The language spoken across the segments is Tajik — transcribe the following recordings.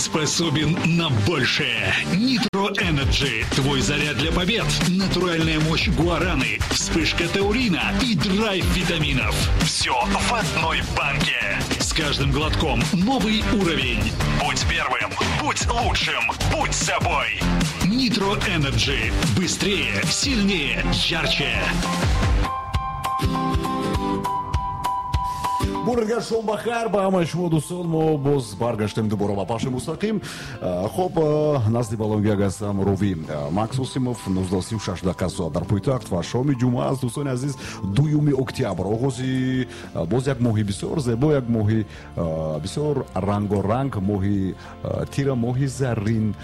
способен на большее. Nitro Energy. Твой заряд для побед. Натуральная мощь гуараны, вспышка таурина и драйв витаминов. Все в одной банке. С каждым глотком новый уровень. Будь первым, будь лучшим, будь собой. Nitro Energy. Быстрее, сильнее, ярче. Бургар шом бахайр ба ҳамаи шумо, дӯстон. Мо боз баргаштем дубора ба пахши мустақим. Хоб, назди балонгиаг ҳастам рови Макс Осимов. 19:36 дақиқа соат дар пойтахт ва шоми ҷумъа аст, дӯстони азиз, 2 октябр. Оғози боз як моҳи бисёр зебо, як моҳи бисёр рангоранг, моҳи тира, моҳи заррин.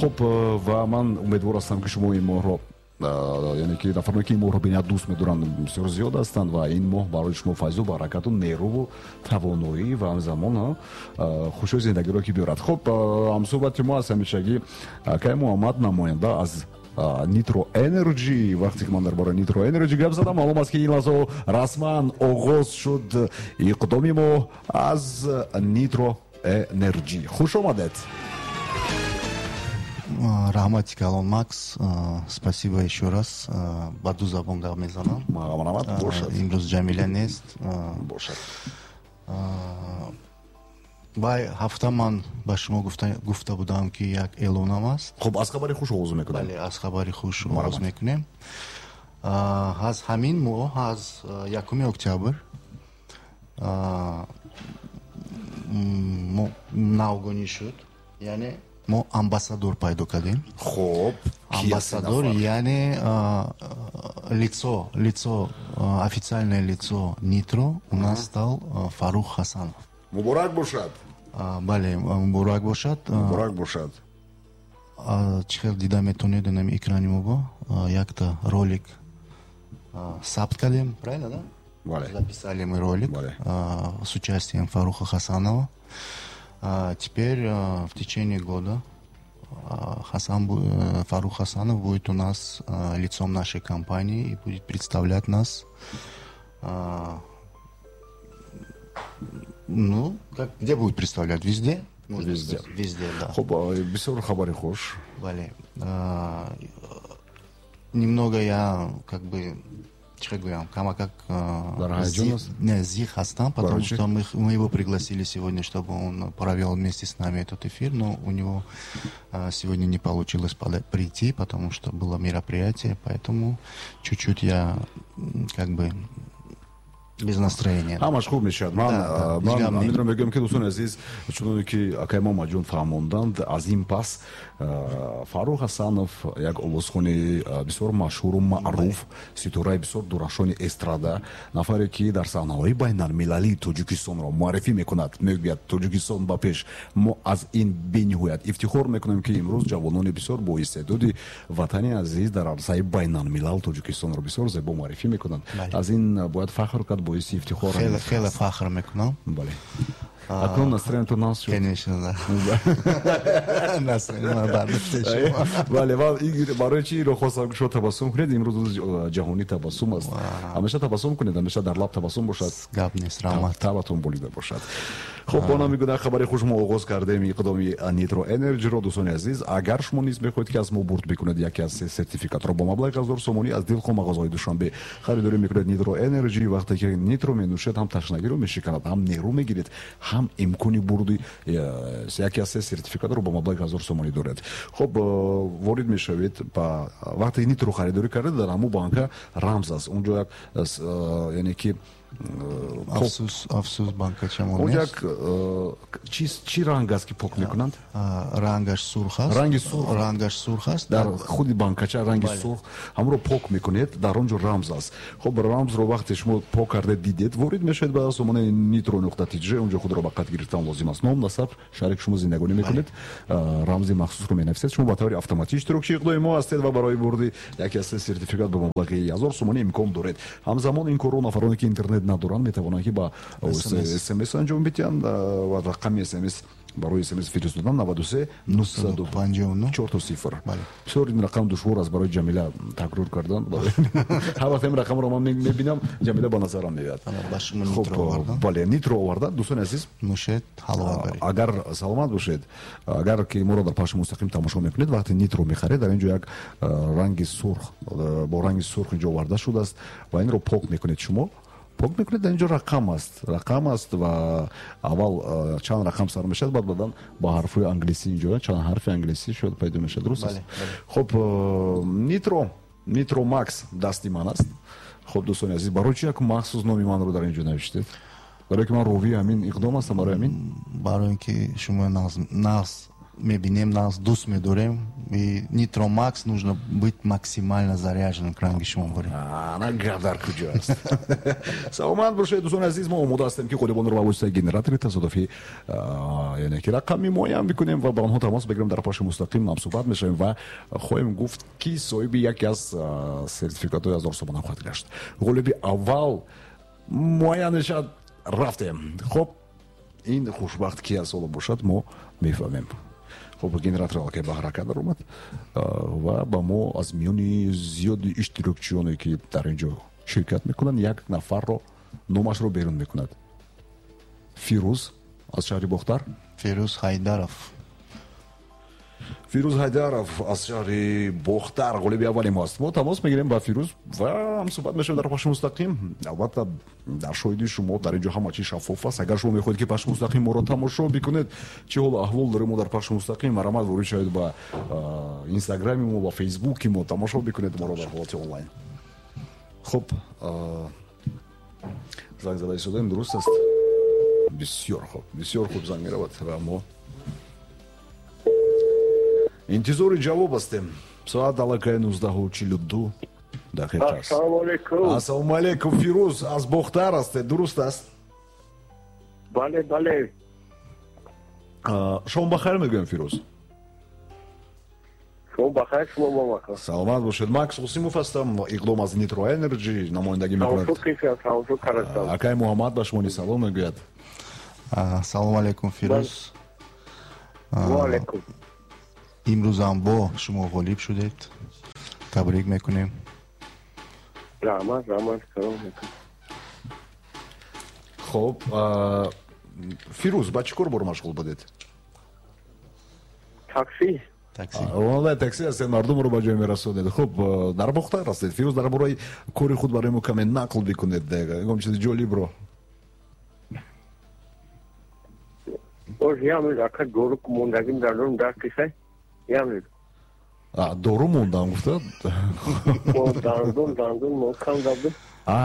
Хоб, ва ман умедвор ҳастам, ки шумо ин моҳро, яъне ки нафароне, ки ин моҳро бениҳоят дӯст медоранд, бисёр зиёд ҳастанд ва ин моҳ барои шумо файзу баракату нерӯву тавоноӣ ва ҳамзамон хушҳои зиндагиро ки биёрад. Хоб, ҳамсӯҳбати мо аз ҳамешагӣ акай Муҳаммад, намоянда аз Nitro Energy. Вақте ки ман дар бораи Nitro Energy гап задам, маълум аст, ки ин лаҳзаҳо расман оғоз шуд иқдоми мо аз Nitro Energy. Хуш омадед. Раҳмати калон, Макс, спасибо еще раз. Ба ду забон гап мезанам. Имрӯз Ҷамила нест. Бошад. Вай ҳафта ман ба шумо гуфта будам, ки як эълонам аст. Хуб, аз хабари хуш оғоз мекунем. Бале, аз хабари хуш оғоз мекунем. Аз ҳамин моҳ, аз 1 октябр навгонӣ шуд, яъне мо амбассадор пайдо кардем. Хоб, амбассадор, яъне лицо, официальное лицо Nitro у нас стал Фарух Хасанов. Муборак бошад. Бале, муборак бошад. Муборак бошад. Чӣ хел дида метавонед, инами экрани мо якта ролик сабт кардем, правильно, да? Бале. Записали мы ролик с участием Фаруха Хасанова. Теперь в течение года Фарух Хасанов будет у нас лицом нашей компании и будет представлять нас. Ну, как, где будет представлять? Везде? Можно везде. Сказать. Везде, да. Хоб, бисёр хабари хуш. Бале. Немного я как бы, чӣ гӯям, камакак зиқ ҳастам, потому что мы его пригласили сегодня, чтобы он провел вместе с нами этот эфир, но у него сегодня не получилось прийти, потому что было мероприятие, поэтому чуть-чуть я как бы без настроения. Ҳамаш хуб мешавад. Ман ҳаминро мегӯям, ки, дӯстони азиз, чуноне ки акай Муҳаммадҷон фаҳмонданд, аз ин пас Фарух Ҳасанов, як овозхони бисёр машҳуру маъруф, ситораи бисёр дурахшони эстрада, нафаре, ки дар саҳнаҳои байналмилалии Тоҷикистонро муаррифӣ мекунад, мегӯяд: «Тоҷикистон ба пеш». Мо аз ин бениҳоят ифтихор мекунем, ки имрӯз ҷавонони бисёр боистеъдоди ватани азиз дар арсаи байналмилал Тоҷикистонро бисёр зебо муаррифӣ мекунанд. Аз ин бояд фахр кард, боиси ифтихор. Хеле, хеле фахр мекунам. Бале. Акнун настроение тон нағз шуд? Конечно, да. Настроение бардошта шуд. Бале, барои чи инро хостам, ки шумо табассум кунед? Имрӯз рӯзи ҷаҳонии табассум аст. Ҳамеша табассум кунед, ҳамеша дар лаб табассум бошад. Гап нест, раҳмат. Табатон болида бошад. Хуб, бо номи гуна хабари хуш мо оғоз кардем иқдоми Nitro Energy-ро. Дӯстони азиз, агар шумо низ мехоҳед, ки аз мо бурд бикунед яке аз се сертификатро бо маблағи 1000 сомонӣ, аз дилхоҳ мағозаҳои Душанбе харидорӣ мекунед Nitro Energy. Вақте ки Nitro менӯшед, ҳам ташнагиро мешиканад, ҳам нерӯ мегиред, ҳам имкони бурди яке аз се сертификатро бо маблағи 1000 сомонӣ доред. Хуб, ворид мешавед ба вақте Nitro харидорӣ кардед, дар ҳамун банка рамз аст. Унҷо як, яъне ки Афсӯс, афсӯс, банкачамон нест. Як чӣ ранг аст, ки пок мекунанд? Рангаш сурх аст. Ранги сурх. Рангаш сурх аст. Дар худи банкача ранги сурх, ҳамонро пок мекунед, дар он ҷо рамз аст. Хуб, рамзро вақте шумо пок карда дидед, ворид мешавед ба сомонаи nitro.tj, он ҷо худро ба қайд гирифтан лозим аст. Ном, насаб, шаҳре, ки шумо зиндагонӣ мекунед, рамзи махсусро менависед. Шумо ба таври автоматӣ иштирокчии иқдоми мо ҳастед ва барои бурди яке аз се сертификат ба маблағи 1000 сомонӣ имкон доред. Ҳамзамон ин корро нафароне, ки интернет надоранд, метавонанд, ки ба СМС анҷом бидиҳанд ва рақами СМС Барои смс фиристодан 93 959 00. Бисёр ин рақам душвор аст барои Ҷамила такрор кардан. Ҳар вақт ин рақамро ман мебинам, Ҷамила ба назарам меояд. Хуб, бале, нитро оварда. Дӯстони азиз, нӯшед, ҳаловат баред. Агар саломат бошед, агар ки моро дар пахши мустақим тамошо мекунед, вақте нитро мехаред, дар ин ҷо як ранги сурх, бо ранги сурх инҷо оварда шудааст ва инро пок мекунед шумо. Пок мекунед, дар ин ҷо рақам аст, рақам аст ва аввал чанд рақам сар мешавад, баъд баъдан ба ҳарфҳои англисӣ инҷо чанд ҳарфи англисӣ шояд пайдо мешавад. Дуруст аст? Хуб, Нитро Макс дасти ман аст. Хуб, дӯстони азиз, барои чи як махсус номи манро дар ин ҷо навиштед? Барои ки ман ровии ҳамин иқдом ҳастам, барои ҳамин? Барои ин ки шумо нағз мебинем, нағз дӯст медорем. И Нитро Макс нужно быть максимально заряженным к ранги шумо борем. Ана гап дар куҷо аст. Саломат бошед, дӯстони азиз, мо омода ҳастем ки ғолибонро ба воситаи генератори тасодуфӣ, яъне ки рақами муайян бикунем ва ба онҳо тамос бигирем, дар пахши мустақим ҳамсуҳбат мешавем ва хоҳем гуфт, ки соҳиби яке аз сертификатҳои 1000 сомона хоҳад гашт. Ғолиби аввал муайян мешавад. Рафтем. Хуб, ин хушбахт ки аз ҳоло бошад, мо мефаҳмем. Хуб, генератор аллакай ба ҳаракат даромад ва ба мо аз миёни зиёди иштирокчиёне ки дар ин ҷо ширкат мекунанд, як нафарро номашро берун мекунад. Фирӯз аз шаҳри Бохтар. Фирӯз Ҳайдаров. Фирӯз Ҳайдаров аз шаҳри Бохтар ғолиби аввали мо аст. Мо тамос мегирем ба Фирӯз ва ҳамсуҳбат мешавем дар пахши мустақим. Албатта, дар шоҳиди шумо дар ин ҷо ҳама чиз шаффоф аст. Агар шумо мехоҳед ки пахши мустақим моро тамошо бикунед, чӣ ҳолу аҳвол дорем мо дар пахши мустақим, марҳамат ворид шавед ба инстаграми мо, ба фейсбуки мо, тамошо бикунед моро дар ҳолати онлайн. Хуб, занг зада истодаем, дуруст аст? Бисёр хуб, бисёр хуб занг меравад ва мо интизори ҷавоб ҳастем. Соат аллакай 19:42 дақиқа аст. Ассалому алайкум. Ассалому алайкум, Фирӯз аз Бохтар ҳастед, дуруст аст? Бале, бале. Шом бахайр мегӯям, Фирӯз. Шом бахайр, шумо бахайр. Саломат бошед. Макс Қосимов ҳастам, иқдом аз Нитро Энерҷи намояндагӣ мекунад. Акай Муҳаммад ба шумо салом мегӯяд. Салому алайкум, Фирӯз. Ва алайкум. Имрӯзам бо шумо ғолиб шудед, табрик мекунем. Раҳмат, раҳмат, салом алайкум. Хуб, Фирӯз, ба чӣ кор бор машғул будед? Такси. Такси. Ронандаи такси ҳастед, мардумро ба ҷой мерасонед. Хуб, дар Бохтар ҳастед. Фирӯз, дар бораи кори худ барои мо каме нақл бикунед, ягон чизи ҷолибро. Боз ямед, ака дору мондагим дар дорум дар кисай. Ямед. Дору мондам гуфта? Дандон, дандон мокам дабд.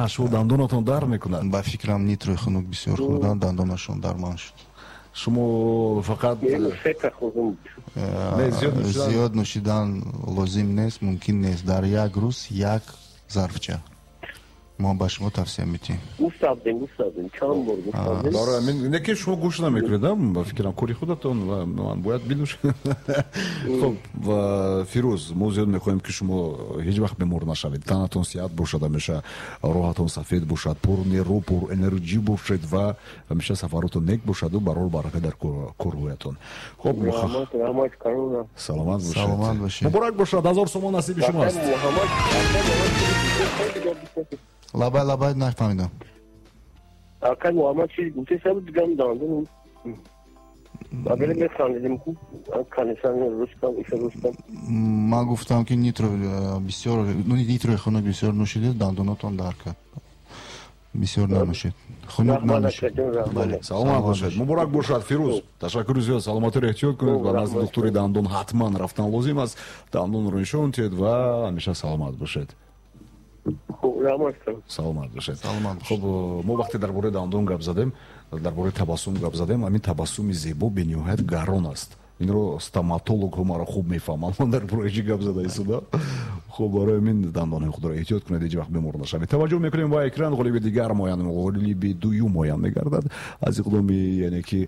Шумо дандонатон дар мекунад? Ба фикрам нитрои хунук бисёр хӯрдан, дандонашон дарман шуд. Шумо фақат зиёд нӯшидан лозим нест, мумкин нест. Дар як рӯз як зарфча. Мо ба шумо тавсия медиҳем. Гуфтабдем, гуфтабдем, чанд бор гуфтабдем. Барои ҳамин не ки шумо гӯш намекунед, ба фикрам кори худатон ва ман бояд бинӯшам. Хуб, ва Фирӯз, мо зиёд мехоҳем ки шумо ҳеҷ вақт бемор нашавед, танатон сиҳат бошад, ҳамеша роҳатон сафед бошад, пур нерӯ, пур энерҷӣ бошед ва ҳамеша сафаротон нек бошаду барор барака дар корҳоятон. Хуб, раҳмат, карона. Саломат бошед. Саломат бошед. Муборак бошад, 1000 сомон насиби шумо аст. Лабай, лабай, нафаҳмидам. Акай Муҳаммад чиз гуфте саб дигам дандон. Агар механдидем ку канисан рустам, иша рустам. Ман гуфтам ки нитро бисёр, ну нитрои хунук бисёр нӯшидед, дандонатон дар кард. Бисёр нанӯшед. Хунук нанӯшед. Бале, саломат бошед. Муборак бошад, Фирӯз. Ташаккури зиёд, саломатиро эҳтиёт кунед ва назди духтури дандон ҳатман рафтан лозим аст. Дандонро нишон диҳед ва ҳамеша саломат бошед. Саломат бошед. Хуб, мо вақте дар бораи дандон гап задем, дар бораи табассум гап задем, ҳамин табассуми зебо бениҳоят гарон аст. Инро стоматологҳо маро хуб мефаҳманд. Ман дар бораи чӣ гап зада истодам. Хуб, барои ҳамин дандонҳои худро эҳтиёт кунед, ҳеҷ вақт бемор нашавед. Таваҷҷӯҳ мекунем ба экран, ғолиби дигар муайян, ғолиби дуюм муайян мегардад аз иқдоми, яъне ки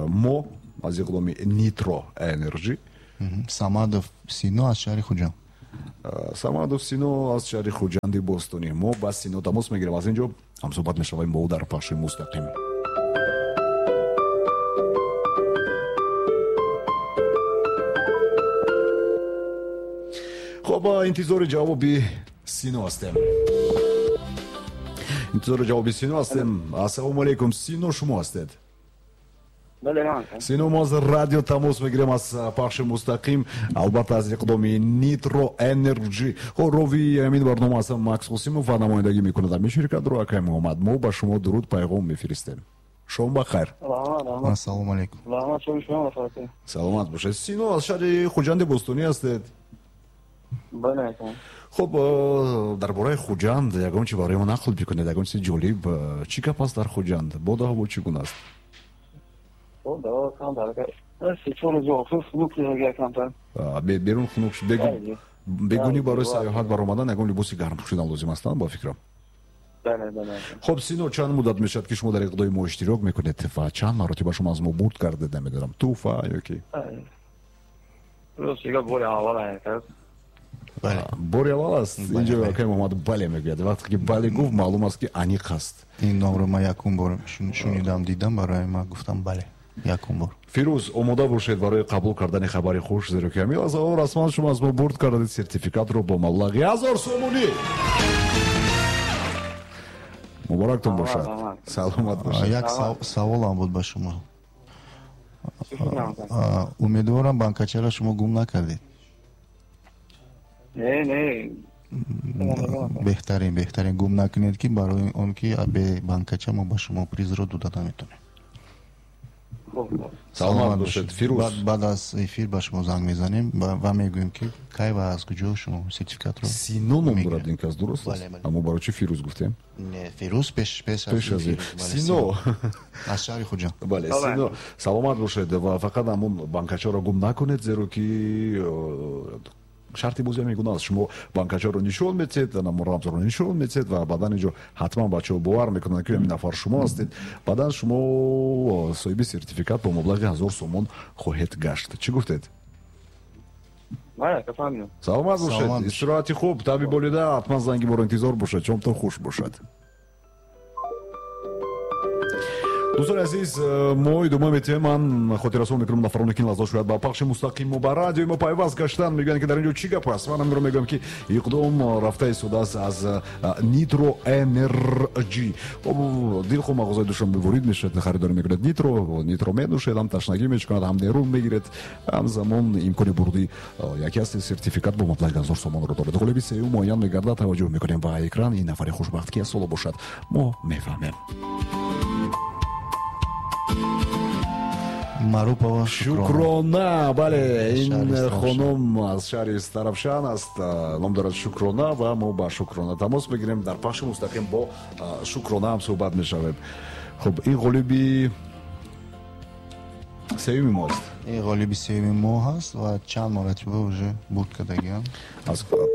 мо аз иқдоми Нитро Энерҷи. Самадов Сино аз шаҳри Хуҷанд. Самадов Сино аз шаҳри Хуҷанди Бостонӣ. Мо ба Сино тамос мегирем, аз ин ҷо ҳамсуҳбат мешавем бо ӯ дар пахши мустақим. Хуб, интизори ҷавоби Сино ҳастем. Интизори ҷавоби Сино ҳастем. Ассалому алайкум, Сино, шумо ҳастед? Сино, мо аз радио тамос мегирем, аз пахши мустақим, албатта аз иқдоми Nitro Energy. Хо, рови ҳамин барнома ҳастам Макс Қосимов ва намояндагӣ мекунад ҳамин ширкатро акай Муҳаммад. Мо ба шумо дуруд пайғом мефиристем. Шом ба хайр. Ассалому алайкум. Саломат бошед. Сино, аз шаҳри Хуҷанди Бостонӣ ҳастед? Хуб, дар бораи Хуҷанд ягон чи барои мо нақл бикунед, ягон чизи ҷолиб. Чӣ гап аст дар Хуҷанд? Боду ҳаво чӣ гуна аст? Берун хунук шуд. Бегунӣ барои сайёҳат баромадан ягон либоси гарм пӯшидан лозим аст, ба фикрам. Хуб, Сино, чанд муддат мешавад, ки шумо дар иқдоми мо иштирок мекунед ва чанд маротиба шумо аз мо бурд кардед, намедонам, тӯҳфа ё ки? Бори аввал аст. Инҷо акай Муҳаммад бале мегӯяд. Вақте ки бале гуфт, маълум аст, ки аниқ аст. Ин номро ман якум бор шунидам, дидам, барои ман гуфтам бале, якум бор. Фирӯз, омода бошед барои қабул кардани хабари хуш, зеро ки ҳамин лаҳзаҳо расман шумо аз мо бурд кардед сертификатро бо маблағи 1000 сомонӣ. Муборактон бошад. Саломат бошед. Як саволам буд ба шумо. Умедворам, банкачаро шумо гум накардед. Не, не. Беҳтарин, беҳтарин, гум накунед, ки барои он ки бе банкача мо ба шумо призро дода наметонем. Саломат бошед, Фирӯз. Баъд аз эфир ба шумо занг мезанем ва мегӯем, ки кай ва аз куҷо шумо сертификатро. Сино ном дорад ин кас, дуруст аст? Аммо барои чӣ Фирӯз гуфтем? Не, Фирӯз пеш аз Сино. Аз шаҳри Хуҷанд. Бале, Сино, саломат бошед ва фақат ҳамон банкачаро гум накунед, зеро ки шарти бозӣ ҳамин гуна аст. Шумо банкачаро нишон метиҳед, рамзро нишон метиҳед ва баъдан инҷо ҳатман бачаҳо бовар мекунанд, ки ҳамин нафар шумо ҳастед. Баъдан шумо соҳиби сертификат бо маблағи 1000 сомон хоҳед гашт. Чӣ гуфтед? Саломат бошед. Истироҳати хуб, таби болида, ҳатман занги моро интизор бошад. Шомтон хуш бошад. Дӯстони азиз, мо идома метиҳем. Ман хотиррасон мекунам нафароне, ки ин лаҳза шояд ба пахши мустақим мо ба радиои мо пайваст гаштанд, мегӯянд, ки дар ин ҷо чӣ гап аст. Ман ҳаминро мегӯям, ки иқдом рафта истодааст аз Nitro Energy. Дилхоҳ мағозаи Душанбе ворид мешавад, харидорӣ мекунад Nitro менӯшед, ҳам ташнагӣ мечукунад, ҳам нерӯ мегиред, ҳамзамон имкони бурди яке аз сертификат бо маблағи 1000 сомонро дорад. Ғолиби сеюм муайян мегардад. Таваҷҷӯҳ мекунем ба экран. Ин нафари хушбахт ки аз соло бошад, мо мефаҳмем. Марупова Шукрона. Бале, ин хонум аз шаҳри Истаравшан аст, ном дорад Шукрона, ва мо ба Шукрона тамос мегирем. Дар пахши мустақим бо Шукрона ҳам суҳбат мешавем. Хуб, ин ғолиби сеюми мо аст. Ин ғолиби сеюми мо ҳаст ва чанд маротиба уже бурд кардагиам.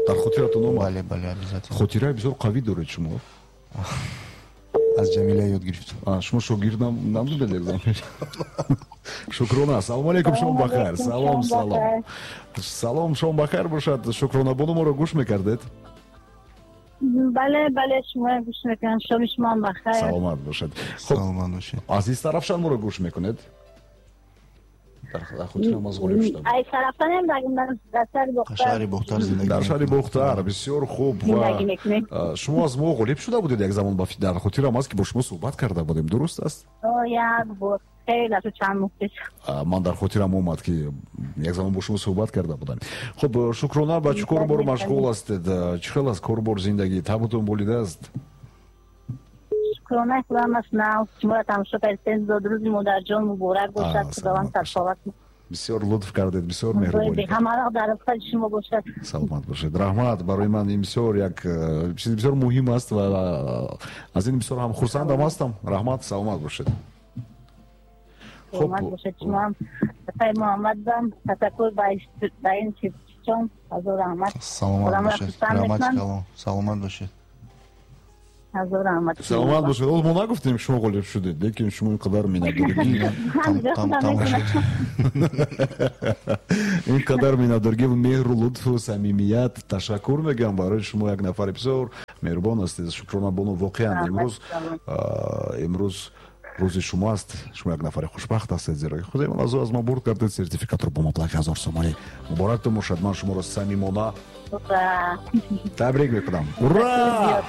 Дар хотиратон омад? Бале, бале, обязательно. Хотираи бисёр қавӣ доред шумо. Аз Ҷамила ёд гирифтам. Шумо шогирд набудед як замон? Шукрона, салому алейкум, шом бахайр. Салом, салом. Салом, шом бахайр бошад. Шукрона бону, моро гӯш мекардед? Бале, бале, шумо гӯш мекунам. Шоми шумо бахайр. Саломат бошед. Саломат бошед. Аз Истаравшан моро гӯш мекунед? Дар хотирам аз ғолиб шудам. Ай Истаравшанем, дар шаҳри Бохтар. Шаҳри Бохтар зиндагӣ. Дар шаҳри Бохтар, бисёр хуб. Ва шумо аз мо ғолиб шуда будед як замон, дар хотирам аст, ки бо шумо суҳбат карда будем, дуруст аст? Як бор. Хеле чанд моҳ пеш. Ман дар хотирам омад, ки як замон бо шумо суҳбат карда будам. Хуб, Шукрона, ба чӣ корбор машғул ҳастед? Чӣ хел аст корбор, зиндагӣ? Табутон болидааст? Шукронаи худам аст, нав шуморо тамошо кардем. Зодрӯзи модарҷон муборак бошад, худованд сарсаломат. Бисёр лутф кардед, бисёр меҳрубонӣ. Ҳамаро дар рафтани шумо бошад. Саломат бошед. Раҳмат. Барои ман ин бисёр як чизи бисёр муҳим аст ва аз ин бисёр ҳам хурсандам ҳастам. Раҳмат, саломат бошед. Саломат бошед шумо ҳам. Атаи Муҳаммадам, ташаккур ба ин чизчон. Ҳазор раҳмат. Саломат бошед. Раҳмат калом. Саломат бошед. Ҳазор раҳмат. Саломат бошед. Ҳоло мо нагуфтем, шумо ғолиб шудед, лекин шумо ин қадар миннатдоргӣ, ин қадар миннатдоргӣ, меҳру лутфу самимият. Ташаккур мегӯям барои шумо, як нафари бисёр меҳрубон ҳастед. Шукрона бону, воқеан имрӯз Рӯзи шумо аст, шумо як нафари хушбахт ҳастед, зеро ки худои ман аз мо бурд кардед сертификатро бо маблағи 1000 сомонӣ. Муборактон бошад, ман шуморо самимона табрик мекунам. Ура!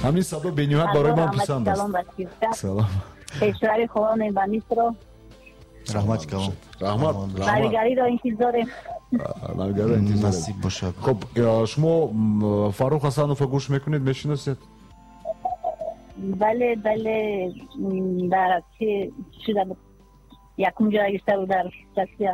Ҳамин садо бениҳоят барои ман писанд аст. Салом. Пешвари хоҳонем ба Мисро. Раҳмати калон. Раҳмат. Навигариро интизорем. Навигариро интизорем. Насиб бошад. Хуб, шумо Фаррух Ҳасановро гӯш мекунед, мешиносед? Бале, бале, дар чи шуда буд? Якум ҷой гирифта буд дар Россия.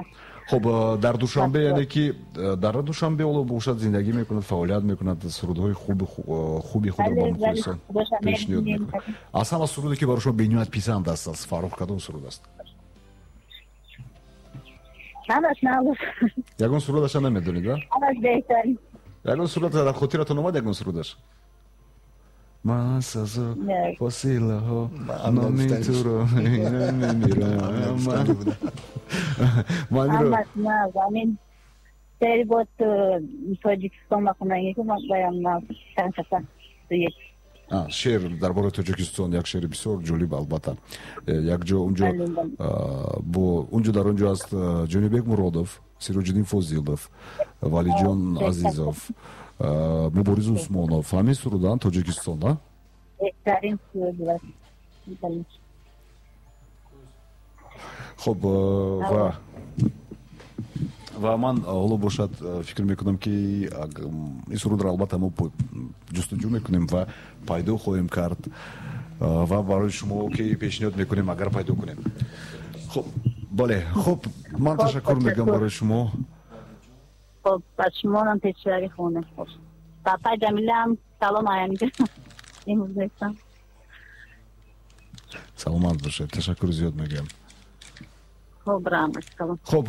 Хуб, дар Душанбе, яъне ки дар Душанбе ҳоло бошад зиндагӣ мекунад, фаъолият мекунад, сурудҳои хуби худро ба мухлисон пешниҳод мекунад. Аз ҳама суруде ки барои шумо бениҳоят писанд аст аз Фаррух кадом суруд аст? Ҳамаш нағз. Ягон сурудаша намедонед, а? Ҳамаш беҳтарин. Ягон суруд дар хотиратон омад, ягон сурудаш? Ман сазо фосилаҳо номи туро мемирам. Ҳамаш нағз. Ҳамин сери бод Тоҷикистон махондагӣ ки баям нағз чанд каса дует. Шеър дар бораи Тоҷикистон як шеъри бисёр ҷолиб, албатта. Якҷо унҷо бо унҷо дар онҷо аст Ҷонибек Муродов, Сироҷиддин Фозилов, Валиҷон Азизов, Мубориз Усмонов. Ҳамин суруданд Тоҷикистон, а? Беҳтарин суруд. Хуб, ва ман ҳоло бошад фикр мекунам ки ин сурудро албатта мо ҷустуҷӯ мекунем ва пайдо хоҳем кард ва барои шумо ки пешниҳод мекунем агар пайдо кунем. Хуб, бале, хуб, ман ташаккур мегӯям барои шумо. Хуб, ба шумонам пешвари хона. Папа Ҷамилаам салом аянҷа. Имрӯз нестам. Саломат бошед, ташаккур зиёд мегӯям. Хуб, раҳмат калом. Хуб,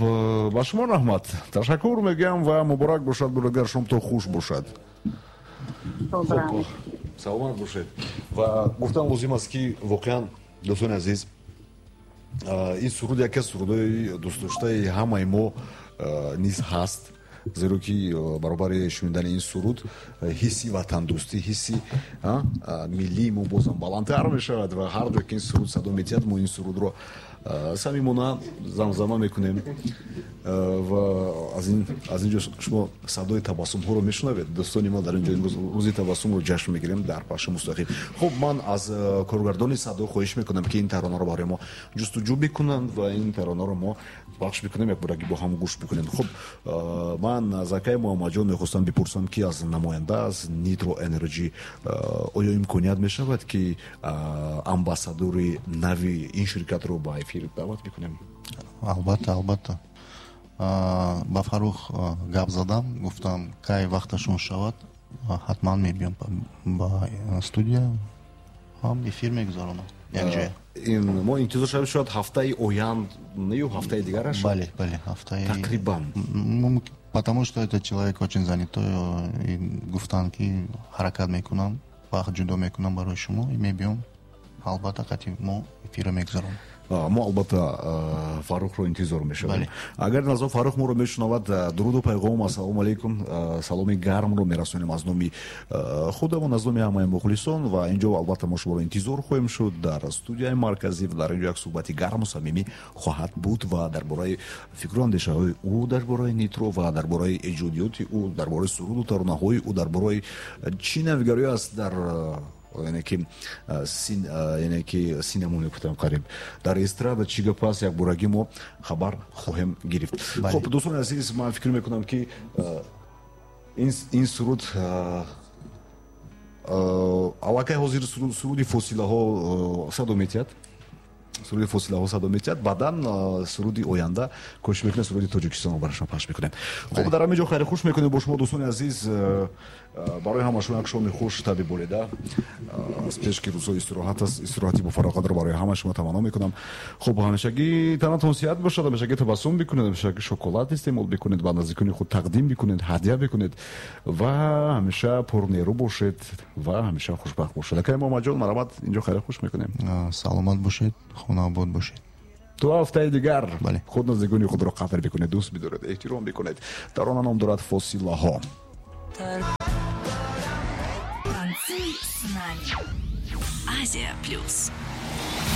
ба шумо раҳмат. Ташаккур мегӯям ва муборак бошад, бародар, шомтон хуш бошад. Хуб, раҳмат. Саломат бошед. Ва гуфтан лозим аст ки воқеан дӯстони азиз, ин суруд яке аз сурудҳои дӯстдоштаи ҳамаи мо низ ҳаст, зеро ки баробари шунидани ин суруд ҳисси ватандӯстӣ, ҳисси миллии мо бозам баландтар мешавад ва ҳар ҷо ки ин суруд садо метиҳад, мо ин сурудро самимона замзама мекунем ва аз ин ҷо шумо садои табассумҳоро мешунавед. Дӯстони мо, дар ин ҷо имрӯз рӯзи табассумро ҷашн мегирем дар пахши мустақим. Хуб, ман аз коргардони садо хоҳиш мекунам ки ин таронаро барои мо ҷустуҷӯ бикунанд ва ин таронаро мо пахш бикунем, якбораги бо ҳам гӯш бикунем. Хуб, ман аз акаи Муҳаммадҷон мехостам бипурсам ки аз намоянда аз Nitro Energy оё имконият мешавад ки амбассадори нави ин ширкатро ба эфир даъват бикунем? Албатта, албатта. Ба Фаррух гап задам, гуфтам кай вақташон шавад, ҳатман мебиём ба студия, ҳам эфир мегузаронам якҷоя. Ин мо интизор шавем шояд ҳафтаи оянд, ё ҳафтаи дигараш? Бале, бале, ҳафтаи тақрибан. Потому что этот человек очень занятой, и гуфтан ки ҳаракат мекунам, вақт ҷудо мекунам барои шумо и мебиём. Албатта қати мо эфирро мегузаронем. Мо албатта Фаррухро интизор мешавем. Агар назо Фаррух моро мешунавад, дуруду пайғом, ассалому алайкум, саломи гармро мерасонем аз номи худамон, аз номи ҳамаи мухлисон ва инҷо албатта мо шуморо интизор хоҳем шуд дар студияи марказӣ ва дар инҷо як суҳбати гарму самимӣ хоҳад буд ва дар бораи фикру андешаҳои ӯ, дар бораи Нитро ва дар бораи эҷодиёти ӯ, дар бораи суруду таронаҳои ӯ, дар бораи чӣ навигарӣ аст дар яъне ки яъне ки синамо мегуфтам қариб дар эстрада чӣ гап аст, якбораги мо хабар хоҳем гирифт. Хуб, дӯстони азиз, ман фикр мекунам ки ин суруд аллакай ҳозир суруди фосилаҳо садо метиҳад, суруди фосилаҳо садо метиҳад, баъдан суруди оянда кӯшиш мекунем суруди Тоҷикистонро барои шумо пахш мекунем. Хуб, дар ҳамин ҷо хайри хуш мекунем бо шумо дӯстони азиз. Барои ҳама шумо як шоми хуш таби болида. Аз пеш ки рӯзҳои истироҳат аст, истироҳати бофароғатро барои ҳама шумо таманно мекунам. Хуб, ҳамешагӣ танатон сиҳат бошад, ҳамешагӣ табассум бикунед, ҳамешагӣ шоколад истеъмол бикунед, ба наздикони худ тақдим бикунед, ҳадя бикунед ва ҳамеша пурнерӯ бошед ва ҳамеша хушбахт бошед. Акаи Муҳаммадҷон, марҳамат, инҷо хайри хуш мекунем. Саломат бошед, хонаобод бошед. То ҳафтаи дигар худ наздикони худро қадр бикунед, дӯст бидоред, эҳтиром бикунед. Тарона ном дорад фосилаҳо. Танцуй с нами. Азия Плюс.